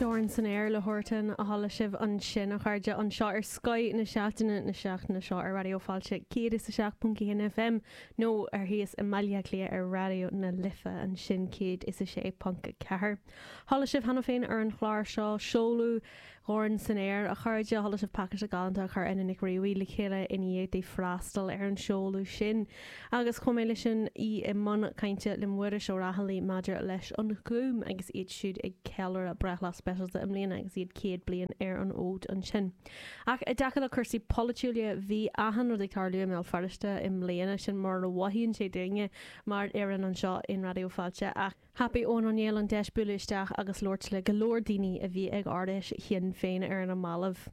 Dorn san Aer le Huartan a chuala sibh ansin, a chairde, anseo ar Scoth na Seachtaine na seachtaine seo ar Raidió Fáilte 107.1 FM nó ar thíos i mBaile Átha Cliath ar Raidió na Life ansin 106.4. Chuala sibh cheana féin ar an chlár seo seoladh Dhorn san Aer, a chairde. Chuala sibh pacáiste galánta a chuir Ena Nic Fhraoidh le chéile i ndiaidh di freastal ar an seoladh sin. Agus chomh maith leis sin, í i mbun cainte le Muiris Ó Raghallaigh maidir leis an Ghúm agus iad siúd ag ceiliúradh breithlá speisialta i mbliana agus iad 100 bliain ar an fhód ansin. Ach i dtaca le cúrsaí polaitiúla, bhí achan rud ag tarlú i mBéal Feirste i mbliana, sin mar a mhothaíonn sé dúinne mar fhoireann anseo in Raidió Fáilte. Ach thapaigh Eoin Ó Néill an deis bualadh isteach agus labhairt le go leor daoine a bhí ag Ard-Fheis Shinn Féin ar na mallaibh.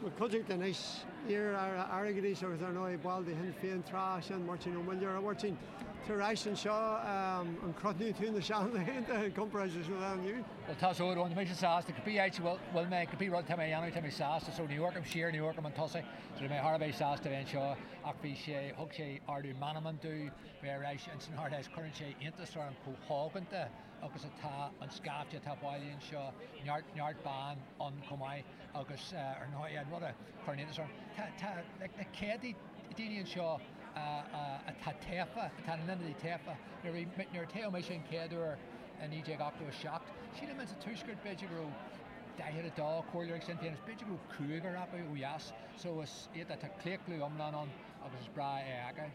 Bhuel, cuideachta anois, iar-aire airgeadais agus ar ndóigh ball de Shinn Féin tráth, sin Máirtín Ó Muilleoir. A Mháirtín, tú ar ais anseo, an gcrothnaíonn tú na seanlaethanta i gcomparáid leis an lá inniu? Bhuel, tá so, tá mise sásta, cibé áit a bhfuil mé, cibé rud atá mé a dhéanamh, tá mé sásta, so ní amharcaim siar, ní amharcaim chun tosaigh, so tá mé thar a bheith sásta a bheith anseo ach bhí sé, thug sé ardú meanman domh bheith ar ais ins an Ard-Fheis, cuireann sé iontas orm chomh hóganta agus atá an scaifte atá bailithe anseo, neart, neart ban ann chomh maith agus ar ndóigh an rud a chuireann iontas orm, tá, tá like na céadtaí daoine anseo atá tofa, atá ina n-ionadaithe tofa. Nuair a bhí, nuair a toghadh mise an chéad uair i 1987, sílim insa Tuaisceart b'fhéidir go raibh 42 comhairleoir ag Sinn Féin agus b'fhéidir go raibh cúigear acu ó dheas, so is iad, tá claochlú iomlán ann agus is breá é a fheiceáil.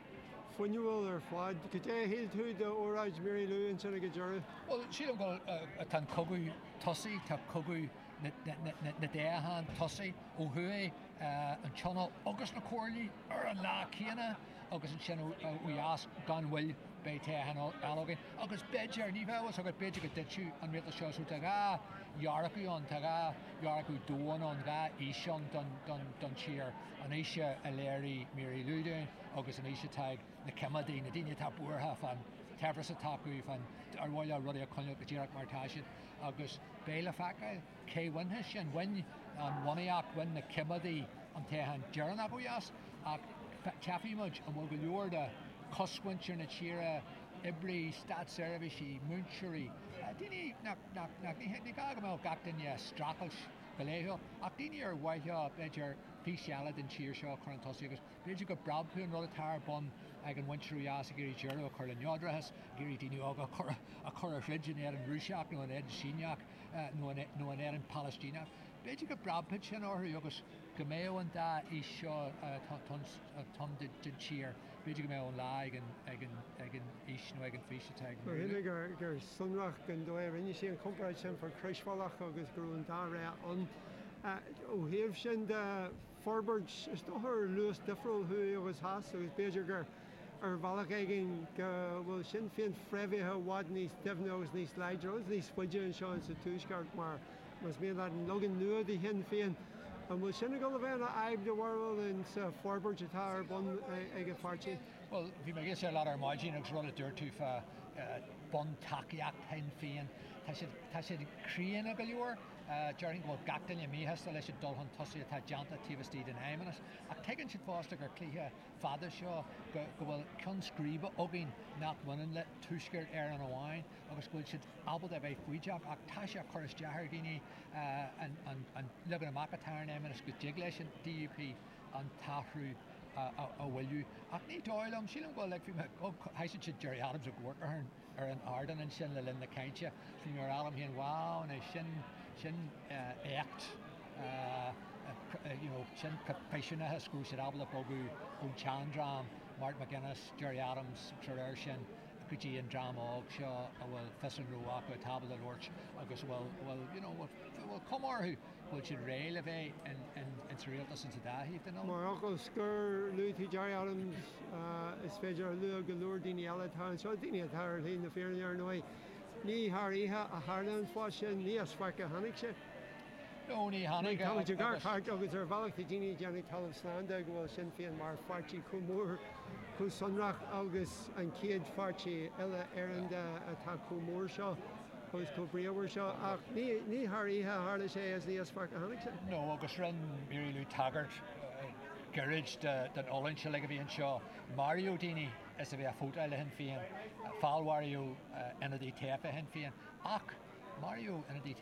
Fuinniúil ar fad. Cad é a shíl tú d'óráid Mary Lou ansin ag an deireadh? Bhuel, sílim go bhfuil, tá an cogadh tosaithe, tá cogadh na dtoghchán tosaithe ó thuaidh, an Tionól agus na comhairlí ar an lá céanna agus ansin ó dheas gan mhoill beidh toghchán eile againn. Agus b'fhéidir, ní bheadh a fhios agat, b'fhéidir go dtitfeadh an rialtas seo so tá 2 dhearcadh ann, tá 2 dhearcadh domhain ann, 2 fhís ann don tír, an fhís a léirigh Mary Lou dúinn agus an fhís atá ag na coimeádaigh, na daoine atá buartha fán tsaibhreas atá acu, fán ar mhaith leo rudaí a choinneáil go díreach mar atá siad agus beidh le feiceáil cé bhainfidh sin. Bhain an bhunaíocht, bhain na coimeádaigh an toghchán deireanach ó dheas ach tchífidh muid an bhfuil go leor de chosmhuintir na tíre, oibrithe, státseirbhísigh, múinteoirí, daoine nach, nach, nach, ní gá go mbeadh gach duine ag streachailt go laethúil ach daoine ar mhaith leo b'fhéidir fís eile den tír seo a chur chun tosaigh agus B'fhéidir go bpreabfaidh an rud atá ar bun ag an mhuintir ó dheas ag iarraidh deireadh a chur le neodrachas, ag iarraidh daoine óga a chur a chur a throid in éadan Rúiseach nó in éadan Síneach nó nó in éadan Palaistíneach. B'fhéidir go bpreabfaidh sin orthu agus go mbeadh an dá fhís seo atá ann den tír, b'fhéidir go mbeadh an lá ag an ag an ag an fhís nó ag an bhfís atá ag Mar shíl gur gur sonrach den dóigh a rinne sí an chomparáid sin fá chroisbhealach agus go raibh an dá rogha ann. Ó thaobh sin de, forbairt, is dócha, ar luas difriúil thuaidh agus theas agus b'fhéidir gur ar bhealach éigin go bhfuil Sinn Féin fréamhaithe i bhfad níos doimhne agus níos láidre agus níos faide anseo insa Tuaisceart mar, más mian leat, an leagan nua de Shinn Féin. An bhfuil sin ag dul a bheith ina fhadhb do bharúil insa forbairt atá ar bun ag an pháirtí? Bhuel, bhí mé ag éisteacht leat ar maidin agus rud a dúirt tú fá buntacaíocht Shinn Féin, tá siad, tá siad críonna go leor. Déarfainn go bhfuil gach duine míshásta leis an dul chun tosaigh atá déanta taobh istigh den Fheidhmeannas, ach tuigeann siad fosta gur cluiche fada seo, go bhfuil ceann scríbe againn nach mbaineann le Tuaisceart Éireann amháin agus go bhfuil siad ábalta a bheith foighdeach. Ach tá sé ag cur isteach ar dhaoine an leagan amach atá ar an Fheidhmeannas, go dtig leis an DUP an t-athrú a mhoilliú. Ach ní dóigh liom, sílim go bhfuil, like, bhí mé, thoisigh siad Gerry Adams ag amharc ar an. ar an ardán ansin le linn na cainte, bhí mé ag rá liom féin, wow, anois sin, sin éacht, you know, sin proifisiúnachas go raibh siad ábalta bogadh ón tseandream, Martin McGuinness, Gerry Adams, agus dá réir sin, go dtí an dream óg seo a bhfuil fios a ngnó acu, atá ábalta labhairt agus a bhfuil, a bhfuil, you know, a bhfuil cuma orthu go bhfuil siad réidh le bheith in, in, in sa rialtas insa dá thaobh den oileán. Mar fhocal scoir, luaigh tú Gerry Adams, Is féidir a lua go leor daoine eile atá anseo, daoine atá ar shlí na fírinne ar ndóigh. Ní thar oíche a tharla an fás sin, ní as faic a tháinig sé. No, ní tháinig. Táimid ag amharc thart agus ar bhealach tá daoine ag déanamh talamh slán de go bhfuil Sinn Féin mar pháirtí chomh mór, chomh sonrach agus an chéad pháirtí uile Éireann de atá chomh mór seo agus chomh bríomhar seo. Ach ní thar oíche a tharla sé agus ní as faic a tháinig sé. No, agus rinne Mary Lou tagairt gairid den fhulaingt uilig a bhí anseo. Maraíodh daoine is a bheith ag vótáil le Shinn Féin, feallmharaíodh ionadaí tofa Shinn Féin. Ach Maraíodh ionadaí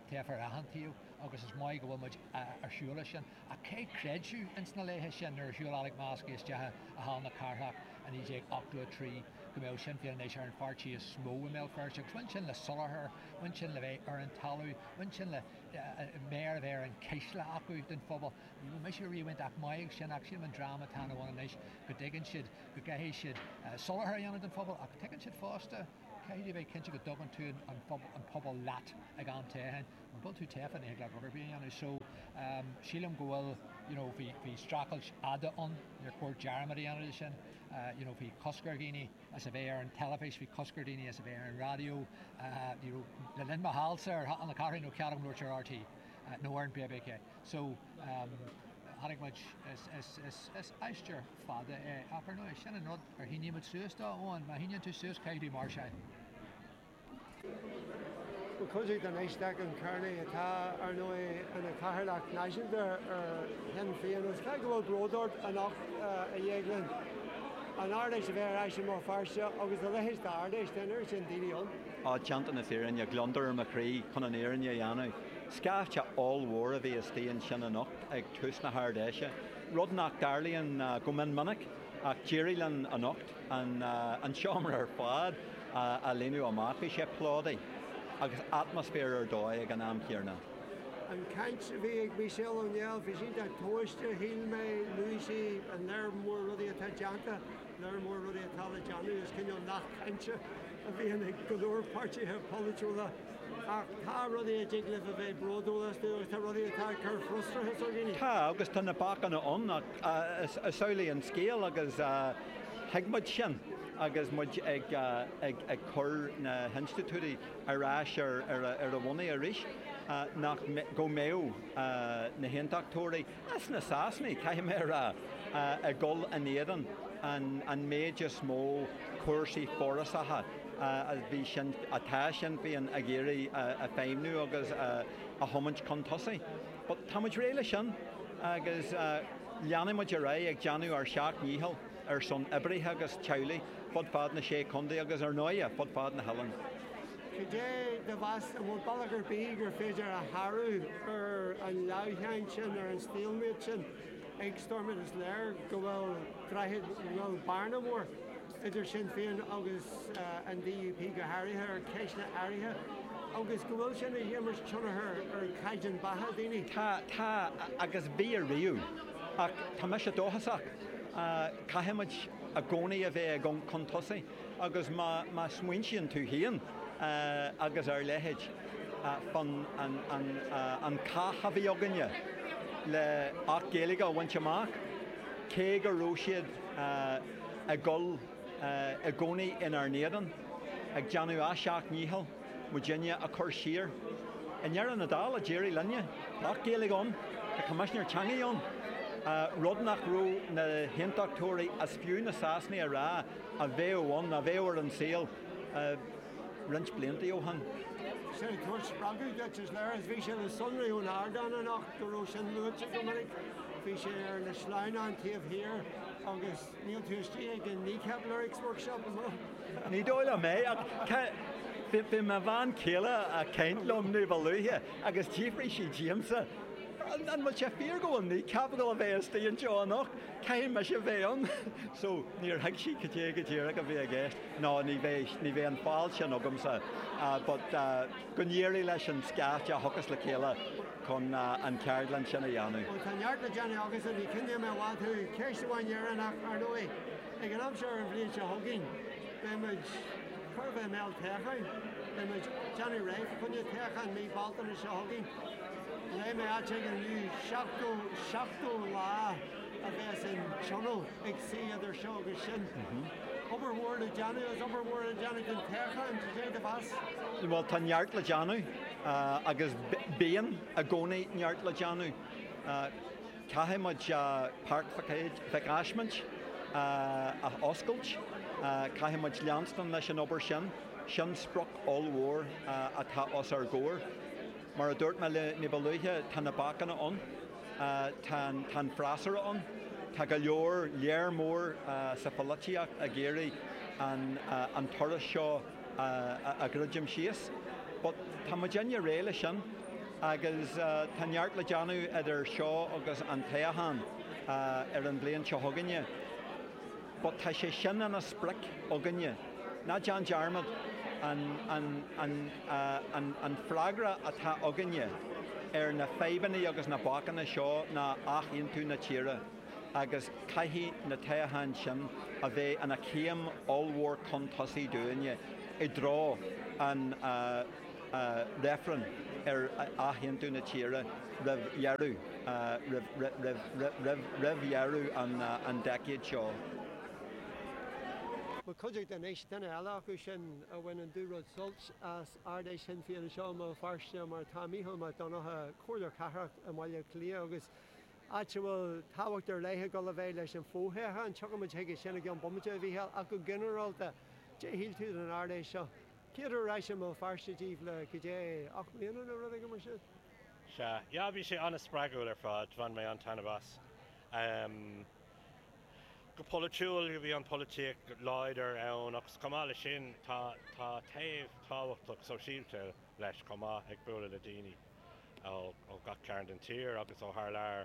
tofa ar achan taobh agus is maith go bhfuil muid ar shiúl as sin. Ach cé chreidfeadh ins na laethe sin nuair a shiúil Alex Maskey isteach i Halla na Cathrach i 1983 go mbeadh Sinn Féin anois ar an pháirtí is mó i mBéal Feirste agus bhain sin le soláthar, bhain sin le bheith ar an talamh, bhain sin le méar a bheith ar an cuisle acu don phobal. Ní raibh mise riamh iontach maith ag sin ach sílim an dream atá ina bhun anois go dtuigeann siad go gcaithfidh siad soláthar a dhéanamh don phobal ach tuigeann siad fosta caithfidh tú a bheith cinnte go dtugann tú an pobal leat ag am toghcháin. Mura bhfuil tú tofa ní thig leat rud ar bith a dhéanamh. So sílim go bhfuil you know bhí bhí streachailt fhada ann, níor chóir dearmad a dhéanamh de sin. You know bhí cosc ar dhaoine as a bheith ar an teilifís, bhí cosc ar dhaoine as a bheith ar an raidió. Ní raibh le linn mo shealsa ar Halla na Cathrach ní raibh cead agam labhairt ar RTÉ nó ar an bbc. So tháinig muid is is is is aistear fada é ach ar ndóigh sin an rud ar shínigh muid suas dó, Eoin, má shíníonn tú suas caithfidh tú máirseáil. Bhuel, cuideachta anois, Declan Kearney, atá, ar ndóigh, ina chathaoirleach náisiúnta ar Shinn Féin agus caithfidh go bhfuil bród ort anocht, a Dhéagláin, an Ard-Fheis a bheith ar ais i mBéal Feirste agus a leithéid d'Ard-Fheis, tá an oiread sin daoine ann. Á, déanta na fírinne, gliondar ar mo chroí chun an fhírinne a dhéanamh. Scaifte ollmhór a bhí istigh ansin anocht ag tús na hArd-Fheise, rud nach dtarlaíonn go mion minic, ach d'éirigh linn anocht an seomra ar fad a líonadh amach. Bhí sé plódaithe agus atmaisféar ar dóigh ag an am chéanna. An chaint a bhí ag Michelle O'Neill, bhí sí iontach tomhaiste, shíl mé. Luaigh sí an léar mór rudaí atá déanta, léar mór rudaí atá le déanamh. Is cineál nath cainte a bhíonn ag go leor páirtithe polaitiúla. Ach tá rudaí a dtig libh a bheith bródúil astu agus tá rudaí atá ag cur frustrachas ar dhaoine. Tá, agus tá na bacanna ann ach is amhlaidh an scéal agus thuig muid sin agus muid ag cur na hinstitiúidí ar ais ar a mbonnaí arís, nach go mbeadh na hAontachtóirí, is na Sasanaigh, caithfidh mé a rá, ag dul in éadan an méid is mó cúrsaí forásacha a bhí sin, atá Sinn Féin ag iarraidh a feidhmniú agus a thiomáint chun tosaigh. But tá muid réidh leis sin agus leanfaidh muid ar aghaidh ag déanamh ár seacht ndícheall ar son oibrithe agus teaghlaigh fud fad na Sé Chontae agus ar ndóighe fud fad na hoileáin. Cad é do mheas, an bhfuil bealach ar bith gur féidir a shárú ar an leamhsháinn sin, ar an stalemate sin ag Stormont? Is léir go bhfuil droichead, go bhfuil bearna mhór idir Sinn Féin agus an DUP go háirithe ar cheisteanna áirithe agus go bhfuil sin ag imirt tionchar ar chaighdeán beatha daoine. Tá, tá, agus bhí ariamh. Ach tá mise dóchasach. Caithfidh muid i gcónaí a bheith ag amharc chun tosaigh agus má smaointíonn tú féin agus ár leithéid fán an cath a bhí againne le Acht Gaeilge a bhaint amach, cé go raibh siad ag dul i gcónaí inár n-éadan, ag déanamh a seacht ndícheall muidinne a chur siar. I ndeireadh na dála, d'éirigh linne. Tá Acht Gaeilge ann, tá Coimisinéir Teanga ann, rud nach raibh na hAontachtóirí is fiú na Sasanaigh a rá a bheadh ann, a bheadh ar an saol roinnt blianta ó shin. Sin ag tabhairt spreagadh duit, is léir, is bhí sé le sonrú ón ardán anocht go raibh sin luaite go minic. Bhí sé ar na sleamhnáin taobh thiar agus níl tú istigh ag an Kneecap Lyrics Workshop, an bhfuil? Ní dóigh liom é, ach bhí mo bhean chéile ag caint liom ní ba luaithe agus d'fhiafraigh sí díomsa, an bhfuil sé fíor go bhfuil Kneecap ag dul a bheith istigh anseo anocht? Caithfidh mise a bheith ann! So, níor thuig sí cad é go díreach a bhí i gceist. No, ní bheidh, ní bheidh an fáil sin agamsa. But go n-éirí leis an scaifte a thiocfas le chéile chun an cheardlann sin a dhéanamh. Bhuel, tá neart le déanamh agatsa, ní choinneoidh mé i bhfad thú. Ceist amháin dheireanach, ar ndóigh. Ag an am seo ar an bhliain seo chugainn, beidh muid chóir a bheith i mbéal toghcháin. Beidh muid déanamh réidh fá choinne toghcháin mí Bealtaine seo chugainn. Léigh mé áit éigin inniu 70, 70 lá a bheas an Tionól ag suí idir seo agus sin. Obair mhór le déanamh agus obair mhór le déanamh don toghchán, cad é do mheas? Bhuel, tá neart le déanamh agus bíonn i gcónaí neart le déanamh. Caithfidh muid Páirc Mhic Ásmaint a oscailt, caithfidh muid leanstan leis an obair sin. Sin sprioc ollmhór atá os ár gcomhair. Mar a dúirt mé ní ba luaithe, tá na bacanna ann, tá an freasúra ann, tá go leor, léar mór sa pholaitíocht ag iarraidh an turas seo a dhruidim síos. But tá muidinne réidh leis sin agus tá neart le déanamh idir seo agus an toghchán ar an bhliain seo chugainne. But tá sé sin ina sprioc againne. Ná déan dearmad, an, an, an, an, an freagra atá againne ar na fadhbanna agus na bacanna seo ná athaontú na tíre agus caithfidh na toghcháin sin a bheith ina céim ollmhór chun tosaigh dúinne i dtreo an reifreann ar athaontú na tíre roimh dheireadh, roimh, roimh dheireadh an decade seo. Mo chuideachta anois, duine eile acu sin a bhain an dúrud suilt as Ard-Fheis Shinn Féin anseo i mBéal Feirste, mar atá Mícheál Mac Donncha, Comhairleoir Cathrach i mBaile Átha Cliath agus áit a bhfuil tábhacht ar leith ag dul a bheith leis an bhfothoghchán. Tiocfaidh muid chuige sin i gceann bomaite, a Mhícheáil, ach go ginearálta, cad é a shíl tú den Ard-Fheis seo? Céad uair ar ais i mBéal Feirste daoibh le goidé, 8 mbliana nó rud éigin mar sin? Sea, yeah, bhí sé an-spreagúil ar fad, bhain mé an-taitneamh as. Go polaitiúil, bhí an pholaitíocht láidir ann agus chomh maith leis sin tá tá taobh tábhachtach sóisialta leis chomh maith, ag bualadh le daoine ó ó gach cearn den tír agus ó thar lear,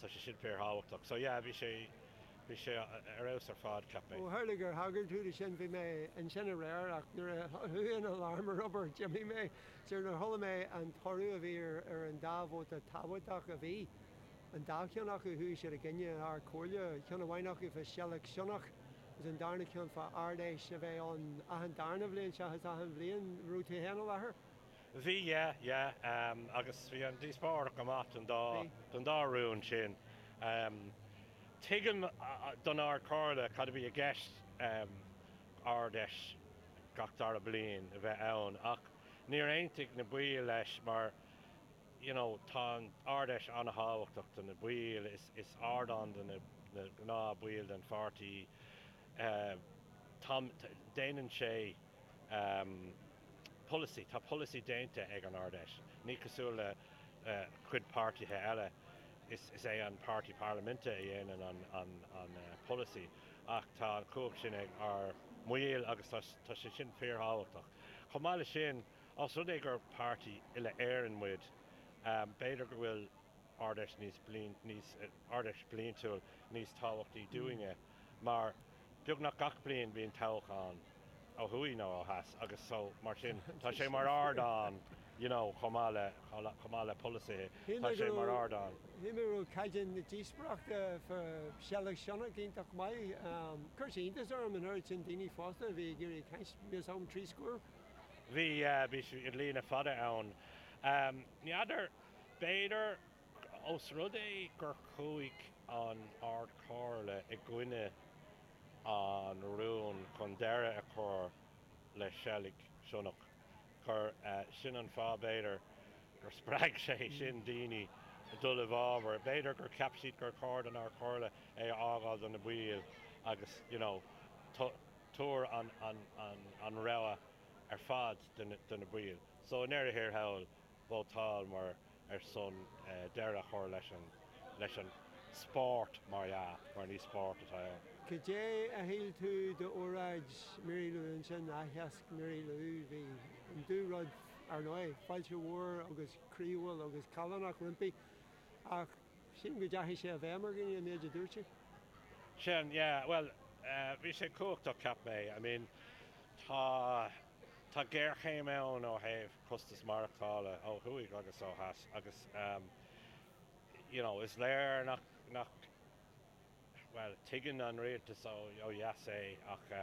so sé sin fíorthábhachtach. So yeah, bhí sé bhí sé ar fheabhas ar fad, cheap mé. Ó tharla gur thagair tú do sin, bhí mé ansin aréir ach nuair a chuaigh an alarm ar obair d'imigh mé. So nuair a chuala mé an toradh a bhí ar ar an dá vóta tábhachtach a bhí, an dá cheann acu, chuaigh siad i gcoinne an Ard-Chomhairle, ceann amháin acu fá Seilg Sionnach agus an darna ceann fá Ard-Fheis a bheith ann achan darna bhliain seachas achan bhliain. Raibh tú féin i láthair? Bhí, yeah, yeah, agus bhí an díospóireacht go maith don dá, don dá rún sin. Tuigim don Ard-Chomhairle cad a bhí i gceist Ard-Fheis gach dara bliain a bheith ann ach níor aontaigh na baill leis mar you know tá an Ard-Fheis an-thábhachtach do na baill, is, is ardán do na, na gnáth baill den pháirtí, tá, déanann sé polasaí, tá polasaí déanta ag an Ard-Fheis, ní cosúil le cuid páirtithe eile, is, is é an páirtí parlaiminte a dhéanann an, an, an polasaí ach tá an chumhacht sin ag ár mbaill agus tá, tá sé sin fíorthábhachtach. Chomh maith leis sin, Ós rud é gur páirtí uile-Éireann muid, b'fhéidir go bhfuil Ard-Fheis níos níos Ard-Fheis bliantúil níos tábhachtaí dúinne mar beagnach gach bliain bíonn toghchán ó thuaidh nó ó theas agus so mar sin tá sé mar ardán you know chomh maith le chomh maith le polasaithe tá sé mar ardán. Shíl mé go raibh caighdeán na díospóireachta fá Sheilg Sionnach iontach maith. Chuir sé iontas orm an oiread sin daoine fásta a bhí ag iarraidh caint, níl 'fhios agam, 30 scór. Bhí, bhí líne fada ann. Ní fheadar, b'fhéidir, ós rud é gur chuaigh an Ard-Chomhairle i gcoinne an rúin chun deireadh a chur le seilg sionnach, gur sin an fáth, b'fhéidir, gur spreag sé sin daoine dul i bhfabhar. B'fhéidir gur cheap siad gur chóir don Ard-Chomhairle é a fhágáil do na baill agus, you know, tabhair an rogha ar fad do na baill. So i ndeireadh thiar thall, vótálamar ar son deireadh a chur leis an leis an spórt, mar dhea, mar ní spórt atá ann. Cad é a shíl tú d'óráid Mary Lou ansin, aitheasc Mary Lou? Bhí an dúrud, ar ndóigh, fáilte mhór agus croíúil agus callánach roimpi ach Sílim go ndeachaigh sé i bhfeidhm ar dhaoine, an méid a dúirt sí. Sin, yeah, bhuel, bhí sé cumhachtach, cheap mé. I mean, tá, tá géarchéim ann ó thaobh costas maireachtála ó thuaidh agus ó theas agus, you know, is léir nach, nach, bhuel, tuigeann an rialtas ó dheas é ach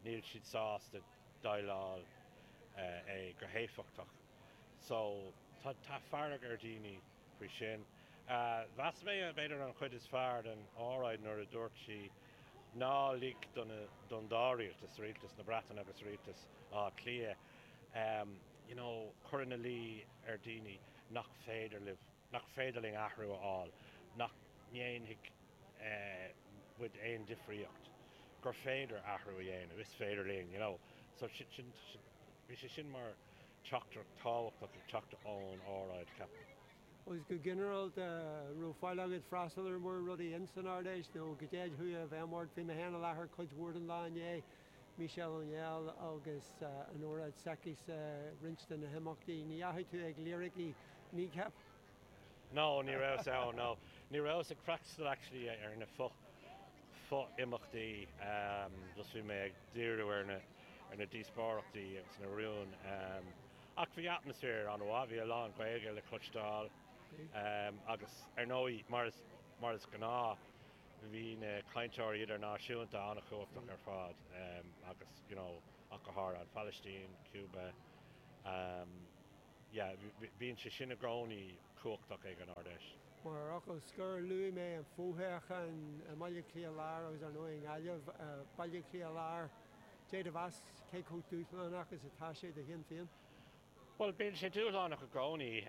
níl siad sásta déileáil é go héifeachtach. So, tá, tá fearg ar dhaoine. faoi sin. Mheas mé b'fhéidir an chuid is fearr den óráid nuair a dúirt sí ná lig don dá rialtas, rialtas na Breataine agus rialtas Átha Cliath, you know cur ina luí ar daoine nach féidir libh, nach féidir linn athrú a fháil, nach ndéanfaidh muid aon difríocht, gur féidir athrú a dhéanamh, is féidir linn, you know. So sin, bhí sé sin mar. teachtaireacht tábhachtach ag teacht ón óráid, ceapaim. Agus go ginearálta, an raibh fáil agat freastal ar mórán rudaí ins an Ard-Fheis nó goidé a chuaigh i bhfeidhm ort? Bhí mé féin i láthair cuid mhór den lá inné. Michelle O'Neill agus an óráid s'aici-sa, roinnt de na himeachtaí. Ní dheachaigh tú ag liricí Kneecap? No, ní rabhas ann, no. Ní rabhas ag freastal actually ar na fo, fo-imeachtaí, just bhí mé ag díriú ar na, ar na díospóireachtaí agus na rúin. Ach bhí atmaisféar an-mhaith, bhí a lán Gaeilge le cloisteáil agus ar ndóigh, mar is, mar is gnáth, bhí na cainteoirí idirnáisiúnta an-chumhachtach ar fad agus, you know, ach go háirithe an Phalaistín, Cuba, yeah, bíonn sé sin i gcónaí cumhachtach ag an Ard-Fheis. Mar fhocal scoir, luaigh mé an fothoghchán i mBaile Átha Cliath Láir agus ar ndóigh i nGaillimh. Baile Átha Cliath Láir, cad é do mheas cé chomh dúshlánach is atá sé do Shinn Féin? Bhuel, bíonn sé dúshlánach i gcónaí.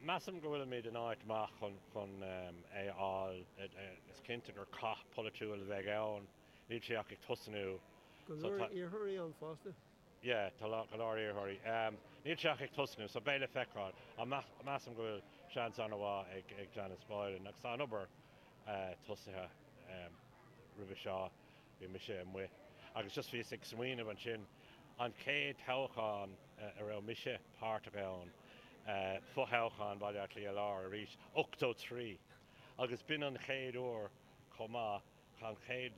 Measaim go bhfuilimid in áit maith chun chun é a fháil. Is cinnte gur cath polaitiúil a bheidh ann. Níl sé ach ag tosnú. Go leor iarrthóirí ann fosta. Yeah, tá go leor iarrthóirí. Níl sé ach ag tosnú, so beidh le feiceáil. Ach measaim go bhfuil seans an-mhaith ag ag Janice Boylan agus tá an obair tosaithe roimhe seo. Bhí mise amuigh agus just bhíos ag smaoineamh ansin, an chéad toghchán a raibh mise páirteach ann, fothoghchán Bhaile Átha Cliath Láir arís, 83, agus b'in an chéad uair chomh maith, an chéad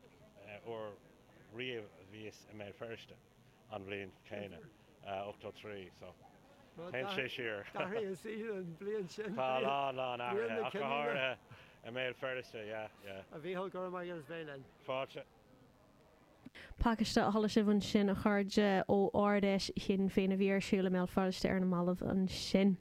uair riamh a bhíos i mBéal Feirste an bhliain chéanna, 83, so téann sé siar. D'athraigh an saol an bhliain sin. Tá a lán, lán athraithe, ach go háirithe i mBéal Feirste, yeah, yeah. A Mhíchíl, go raibh maith agat as bheith linn. Fáilte. Pacáiste a chuala sibh ansin, a chairde, ó Ard-Fheis Shinn Féin a bhí ar siúl i mBéal Feirste ar na mallaibh ansin.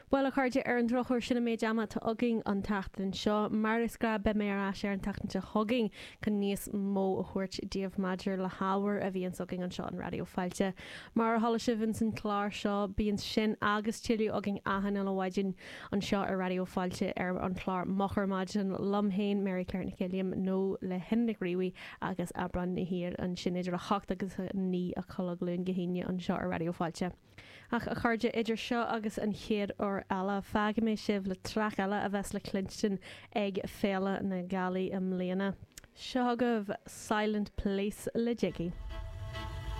Bhuel, a chairde, ar an drochuair, sin an méid ama atá againn an tseachtain seo. Mar is gnáth, beidh mé ar ais ar an tseachtain seo chugainn chun níos mó a thabhairt daoibh maidir le hábhar a bhíonns againn anseo in Raidió Fáilte. Mar a chuala sibh ins an chlár seo, bíonn sin agus tuilleadh againn achan uile mhaidin anseo ar Raidió Fáilte ar an chlár Moch ar Maidin liom féin, Mary Claire Nic Uilliam, nó le hIona Nic Riabhaigh agus Aibreán na hÍr ansin idir 8 agus 9 a chlog Luan go hAoine anseo ar Raidió Fáilte. Ach a chairde, idir seo agus an chéad uair eile, fágfaidh mé sibh le traic eile a bheas le cluinstin ag Féile na Gealaí i mbliana. Seo chugaibh Silent Place le Jiggy.